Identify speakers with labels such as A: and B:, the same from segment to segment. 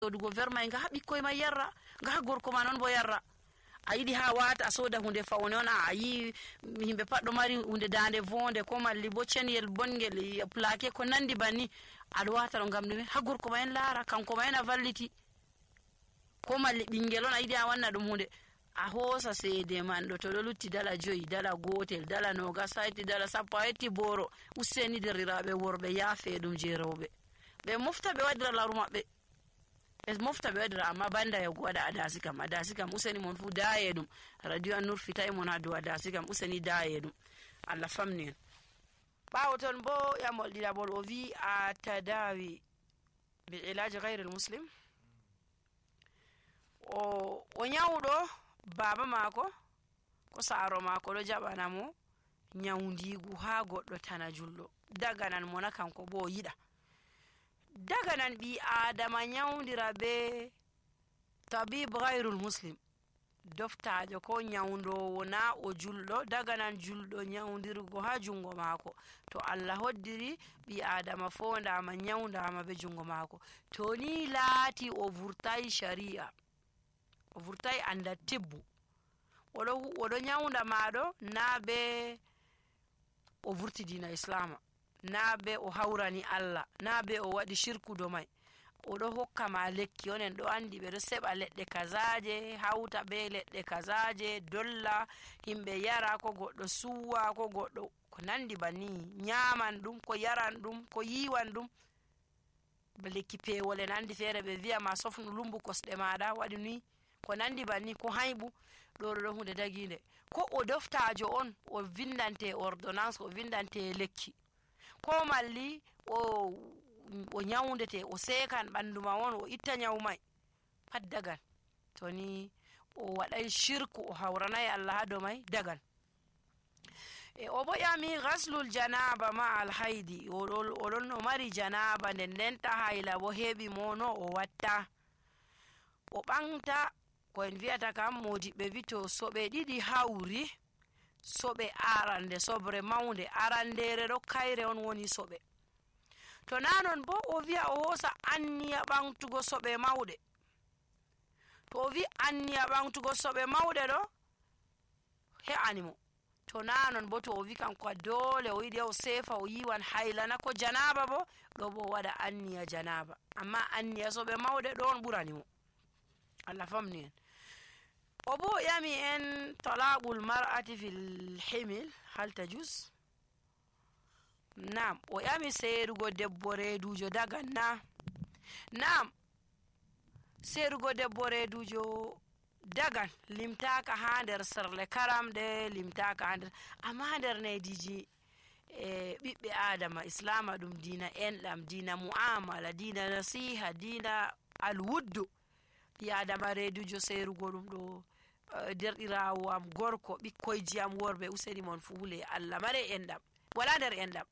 A: sodugo vermay nga ɓikkoy ma yarra nga gorko ma non bo yarra a yiɗi ha wata a soda hunde fawne on a yi himɓe pat ɗo mari hunde dande vonde ko malli bo cenyel bongel plaqué ko nandi banni aɗa wata ɗo ngam ɗume ha gorko ma en laara kanko ma en a valliti ko malli ɓingel on a yiɗi a wanna ɗum hunde a hoosa seede man ɗo to ɗo lutti dala 5 dala 1 dala 20 hayti dala 10 a yetti boro useni derriraɓe worɓe yaafe ɗum je rewɓe ɓe mofta ɓe waɗira laru maɓɓe ɓe mofta ɓe waɗira amma banda yago waɗa adasi kam useni mon fu daye ɗum radio an nurfitay mon ha dow adasi kam useni daye ɗum Allah famni en ɓawo ton bo yamol ɗiɗaɓol o wi a tadawi bi ilaji gayre muslim o nyawɗo baba mako ko saaro mako ɗo jaɓana mo nyawndigu ha goɗɗo tana julɗo daganan mo na kanko bo yiɗa daganan ɓi adama nyawndira be tabib gayrul muslim doftajo ko nyawndowo na o julɗo daganan julɗo nyawndirgo ha jungo mako to Allah hoddiri ɓi adama fondama nyawndama be jungo mako to ni laati o vurtai sharia o vurtai anda tibbu oɗo nyawnda maɗo na be o vurti dina islama na be o hawrani Allah na be o waɗi shirku do mai oɗo hokka ma lekki onen ɗo andi ɓe ɗo seɓa leɗɗe kazaje hawta be leɗɗe kazaje dolla himɓe yara ko goɗɗo suwa ko goɗɗo ko nandi banni nyaman ɗum ko yaran ɗum ko yiwan ɗum lekki pewol en andi feere ɓe wi'a ma sofnu lumbu kosɗe maɗa waɗi ni ko nandi banni ko hayɓu ɗo hunde daginde ko o doftajo on o vindante ordonnance o vindante lekki ko malli o nyawndete o sekan ɓandu ma on o itta nyawu mai pat dagan to ni o waɗay shirku o hawranay Allah ha dow mai dagan o bo yami ghaslul janaba ma al haidi oɗon no mari janaba ndenta hayla bo heɓi mo no o watta o ɓanta ko en wi'ata kam modiɓɓe wi to soɓe ɗiɗi hawri soɓe arande sobre mawnde arandere ɗo kayre on woni soɓe to nanon bo o wi'a o hosa anniya ɓamtugo soɓe mawɗe to o wi anniya ɓamtugo soɓe mawɗe ɗo he'animo to nanon bo to o wi kanko dole o yiɗi o sefa o yiwan haylana ko janaba bo ɗo bo waɗa anniya janaba amma anniya soɓe mawɗe ɗo on ɓuranimo Allah famni en o bo yami en talaqul mar'ati fil himil hal tajuz nam o yami seerugo debbo reedujo dagan na nam seerugo debbo reedujo dagan limtaka ha nder serle karamɗe limtaka ha nder amma nder nediji ɓiɓɓe adama islama ɗum dina enɗam dina mu'amala dina nasiha dina alwuddu ɓi adama reedujo seerugo ɗum ɗo derɗirawo am gorko ɓikkoyji am worɓe useni mon fuule Allah mare enɗam wala nder enɗam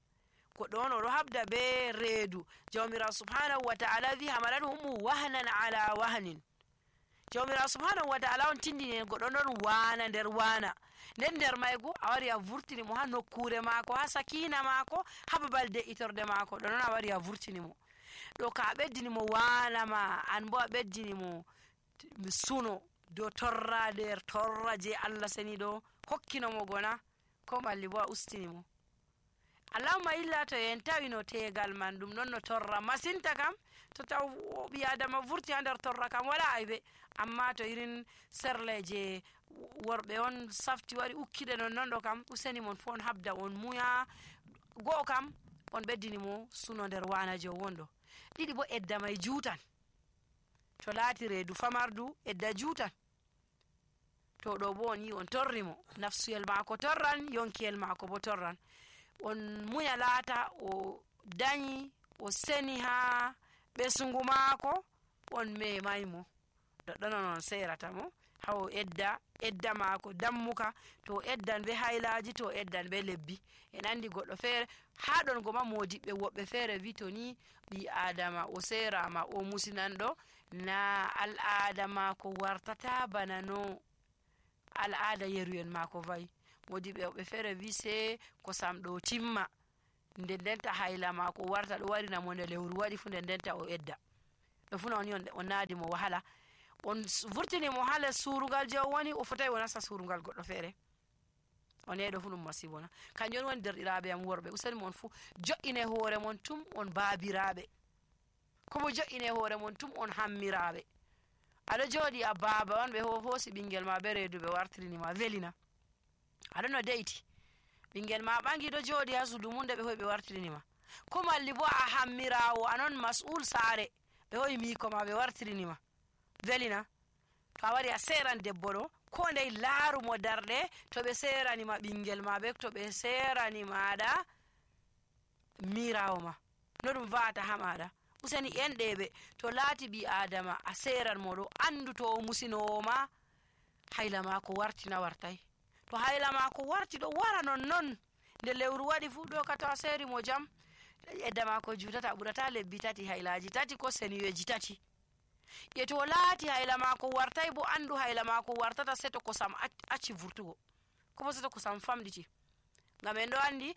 A: goɗɗo on oɗo habda be reedu jawmirawo subhanahu wa ta'ala wi hamalathumu wahnan ala wahnin jawmirawo subhanahu wa ta'ala on tindini en goɗɗo ɗon wana nder wana nder maygo a wari a vurtini mo ha nokkure maako ha sakina maako ha babal de'itorde maako ɗo non a wari a vurtini mo ɗo ka a ɓeddini mo wana ma an bo a ɓeddini mo suno do torra nder torra je Allah seni ɗo hokkinomo gona ko malli bo a ustini mo allahumma illa to en tawino tegal man ɗum ɗon no torra masinta kam to taw ɓi adama vurti ha nder torra kam wala aybe amma to irin serleje worɓe on safti wari ukkiɗe non ɗo kam useni mon fu on habda on muya go'o kam on ɓeddini mo suno nder wanajo wonɗo ɗiɗi bo edda may juutan to laati reedu famardu edda juutan to ɗo bo on yi on torri mo nafsuyel maako torran yonkiyel maako bo torran on muya laata o dañi o seni ha ɓesugu maako on memay mo ɗoɗɗonon on serata mo hawo edda maako dammuka to eddan be haylaji to eddan be lebbi en andi goɗɗo feere ha ɗon goma modiɓɓe woɓɓe feere wi to ni ɓi adama o serama o musinanɗo na al'ada ko wartata bana no al'ada yeruyen mako vayi modiɓɓe woɓɓe feere wi se ko samɗo timma ndendenta hayla mako warta ɗo warina mo nde lewru waɗi fu ndendenta o edda ɓe funa on naadi mo wahala on vurtini mo hala surugal je o woni o fotai o nasta surugal goɗɗo feere on yeeɗo fu ɗum masibo na kanjum woni derɗiraɓe am worɓe useni mon fu jo'ine hoore mon tum on baabiraɓe komo jo'ine hoore mon tum on hammiraɓe aɗa jooɗi a baaba on ɓe hoosi ɓingel ma be reedu ɓe wartirinima welina aɗa no de'iti ɓingel ma ɓangi ɗo jooɗi ha suudu mum nde ɓe hoyi ɓe wartirinima ko malli bo a hammirawo anon mas'ul saare ɓe hoyi miko ma ɓe wartirinima welina to a wari a seran debbo ɗo ko ndey laarumo darɗe to ɓe seranima ɓingel ma ɓe to ɓe seranimaɗa mirawo ma no ɗum va'ata ha maɗa useni enɗeɓe to laati ɓi adama a seran mo ɗo andu to o musinowo ma hayla mako wartina wartai to hayla mako warti ɗo wara non nde lewru waɗi fu ɗo ka to a seri mo jam edda mako jutata ɓurata lebbi tati haylaji tati ko seniyeji tati e to laati hayla mako wartai bo andu hayla mako wartata seto kosam acci vurtugo kobo seto kosam famɗiti ngam en ɗo andi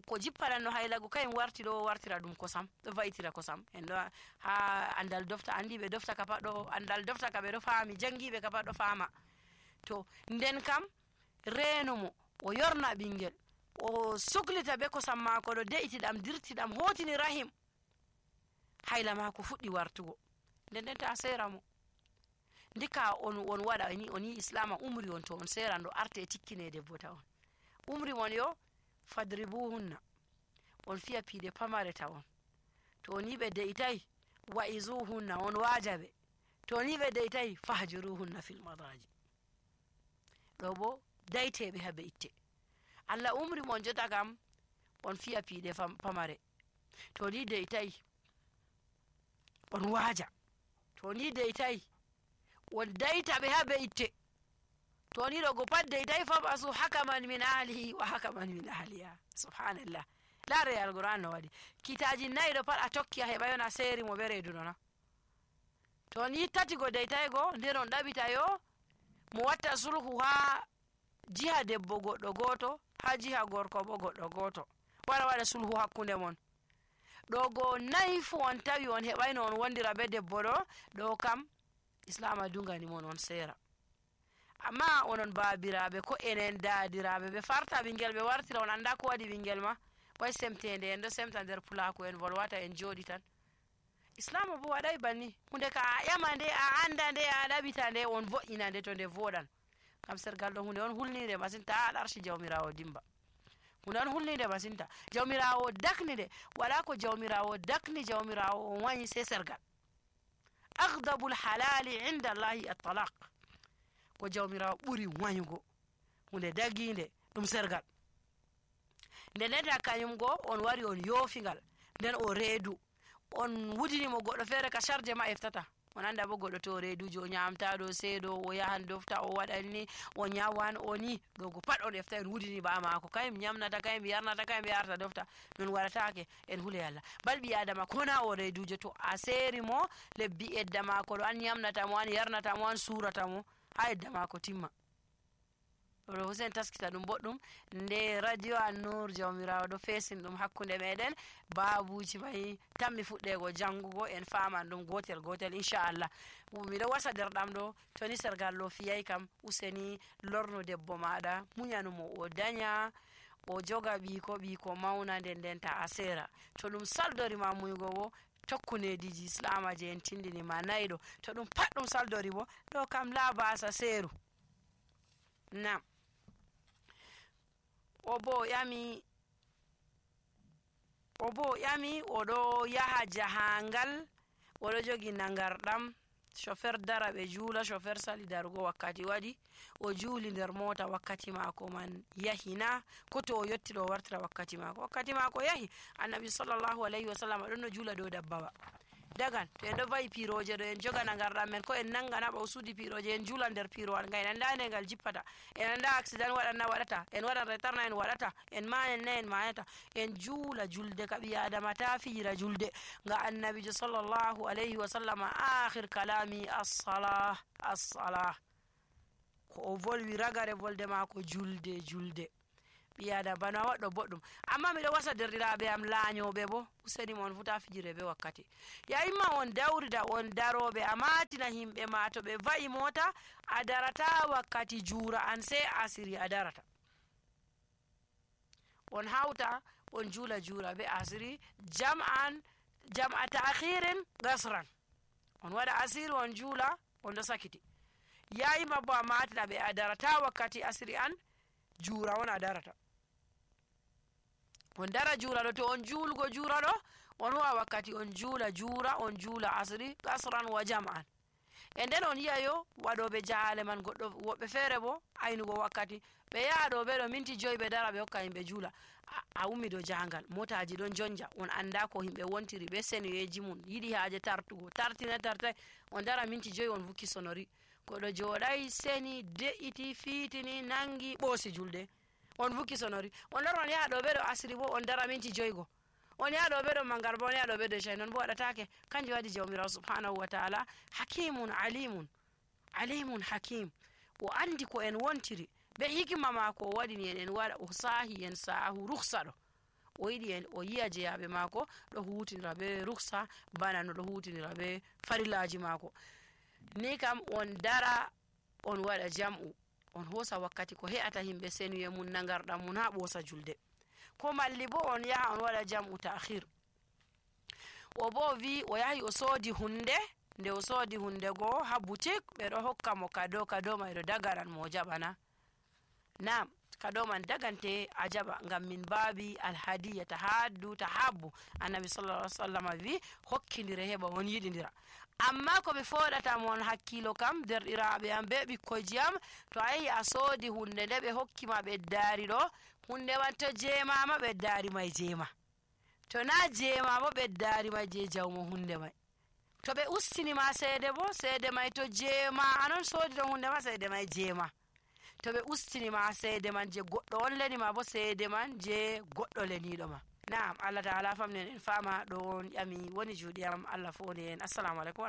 A: ko jippananno haylago kayum warti ɗo wartira ɗum kosam ɗo va'itira kosam en ɗo ha andal dofta andiɓe dofta ka pat ɗo andal dofta ka ɓe ɗo faami jangiɓe ka pat ɗo faama to nden kam renomo o yorna ɓingel o suklita be kosam mako ɗo de'itiɗam dirtiɗam hotini rahim hayla mako fuɗɗi wartugo nden ta sera mo ndika on waɗa on yi islama umri on to on seran ɗo arte tikkine debbo ta on umri mon yo fadribuhunna on fiya piide pamare tawon to ni ɓe de'itai wa'izuhunna on wajaɓe to ni ɓe de'itai fahjuruhunna fil madaji ɗo bo dayteɓe habe itte Allah umri mon jota kam on fiya piide pamare to ni de'itai on waja to ni de'itai on daytaɓe habe itte to ni ɗo go pat de'itai fabasu hakaman min ahlihi wa hakaman min ahliha subhanallah laare alquran no waɗi kitaji nayi ɗo pat a tokki a heɓa yon a seri mo ɓe reedu nona to ni tati go de'itai go nden on ɗaɓita yo mo watta sulhu ha jiha debbo goɗɗo goto ha jiha gorko bo goɗɗo goto wara waɗa sulhu hakkunde mon ɗo go nayi fu on tawi on heɓayno on wondira be debbo ɗo kam islama dungani mon on sera amma onon baabiraɓe ko enen daadiraɓe ɓe farta ɓingel ɓe wartira on anda ko waɗi ɓingel ma way semtede en ɗo semta nder pulaku en volwata en jooɗi tan islama bo waɗay banni hunde ka a ƴama nde a anda nde a ɗaɓita nde on vo'ina nde to nde voɗan kam sergal ɗo hunde on hulnide masinta a ɗarshi jawmirawo dimba hunde on hulnide masinta jawmirawo dakni nde wala ko jawmirawo dakni jawmirawo on wayi se sergal aghdabul halali inda allahi at-talaq ko jawmirawo ɓuri wayugo hunde daginde ɗum sergal nde neta kañum go on wari on yoofingal nden o reedu on wudinimo goɗɗo feere ka charge ma eftata on anda bo goɗɗo to reedujo o ñamtaɗo seeɗo o yahan dofta o waɗanni o ñawan o ni ɗo go pat on efta en wudini ba mako kayum ñamnata kayum yarnata kayum yarta dofta non waɗatake en huule Allah bal ɓi adama kona o reedujo to a seeri mo lebbi edda mako ɗo an ñamnata mo an yarnata mo an surata mo ha edda mako timma ɗo husen taskita ɗum boɗɗum nde radio An-Nur jawmirawo ɗo fesin ɗum hakkunde meɗen babuji mai tammi fuɗɗego jangugo en faman ɗum gotel gotel inchallah miɗo wasa derɗam ɗo toni sergal ɗo fiyay kam useni lorno debbo maɗa muñanumo o daña o joga ɓiko mauna nden ta a sera to ɗum saldorima muygo bo tokkunediji islama je en tindinima nayi ɗo to ɗum pat ɗum saldori bo ɗo kam la basa seru nam o bo ƴami oɗo yaha jahangal oɗo jogi nagarɗam chauffeur dara ɓe juula chauffeur sali darugo wakkati waɗi o juuli nder mota wakkati mako man yahina ko to o yetti ɗo wartira wakkati mako yahi annabi sallllahu alayhi wa sallam ɗon no juula dow dabbawa dagan to en ɗo vayi piroje ɗo en joga nagarɗam men ko en nangana ɓa o suudi piroje en juula nder pirowal ngal en anda nde ngal jippata en anda accident waɗanna waɗata en waɗan retarna en waɗata en mayan na en mayata en juula julde ka ɓi adama ta fijira julde nga annabijo sallllahu alayhi wa sallam akhir kalami as-salah ko o volwi ragare volde mako julde ɓiyada bana waɗɗo boɗɗum. Amma miɗo wasa derɗiraɓe am laañoɓe bo useni mon futa fijire be wakkati. Yayima on dawrida on daroɓe a matina himɓe ma to ɓe va'i mota a darata wakkati jura an sai asiri a darata. On hauta on jula be asiri jam'a ta'khirin gasran. On waɗa asiri on jula on ɗo sakiti. Yayima bo a matina ɓe a darata wakkati asiri an jura on a darata. On dara jura ɗo to on julgo jura ɗo on huwa wakkati on jula jura on jula asiri gasran wa jam'an. E nden on yi'ayo waɗoɓe jahale man woɓɓe feere bo aynugo wakkati ɓe yaha ɗo ɓe ɗo minti 5 ɓe dara ɓe hokka himɓe jula. A ummi ɗo jahangal motaji ɗon jonja on anda ko himɓe wontiri ɓe senoyeji mum yiɗi haje tartugo tartai on dara minti 5 on vukki sonori koɗo joɗai seni de'iti fitini nangi ɓoosi julde on vukki sonori. On lora on yaha ɗo ɓe ɗo asiri bo on dara minti 5 go. On yaha ɗo ɓe ɗo mangarba on yaha ɗo ɓe ɗo isha'i non bo waɗatake. Kanjum waɗi jawmirawo subhanahu wa ta'ala hakimun alimun hakim. O andi ko en wontiri be hikima mako o waɗini en waɗa o sahi en sahu ruksa ɗo o yiɗi en o yi'a jeyaɓe mako ɗo hutinira be ruksa bana no ɗo hutinira be farillaji mako. Ni kam on dara on waɗa jam'u on hosa wakkati ko he'ata himɓe senuye mum nagarɗam mum ha ɓosa julde. Ko malli bo on yaha on waɗa jam'u ta'khir. O bo wi o yahi o soodi hunde nde o soodi hunde go ha boutique ɓe ɗo hokka mo kado mai ɗo dagaran mo jaɓana. Nam kado man dagante a jaɓa ngam min babi alhadiya tahabbu. Annabi sallallahu alaihi wasallam wi hokkidire heɓa on yiɗidira. Amma ko ɓe foɗata mon hakkilo kam derɗiraɓe am be ɓikkoyji am to a yahi a soodi hunde nde ɓe hokkima ɓeddari ɗo hunde man to jemama ɓeddari mai jema, to na jema bo ɓeddari mai je jawmo hunde mai. To ɓe ustinima seede bo seede mai to jema anon soodi ɗon hunde ma seede mai jema. To ɓe ustinima seede man je goɗɗo on lenima bo seede man je goɗɗo leniɗo ma. Na'am, Allah ta'ala famnen en fama ɗo on ƴami woni juuɗe am Allah foni en. Assalamu alaikum.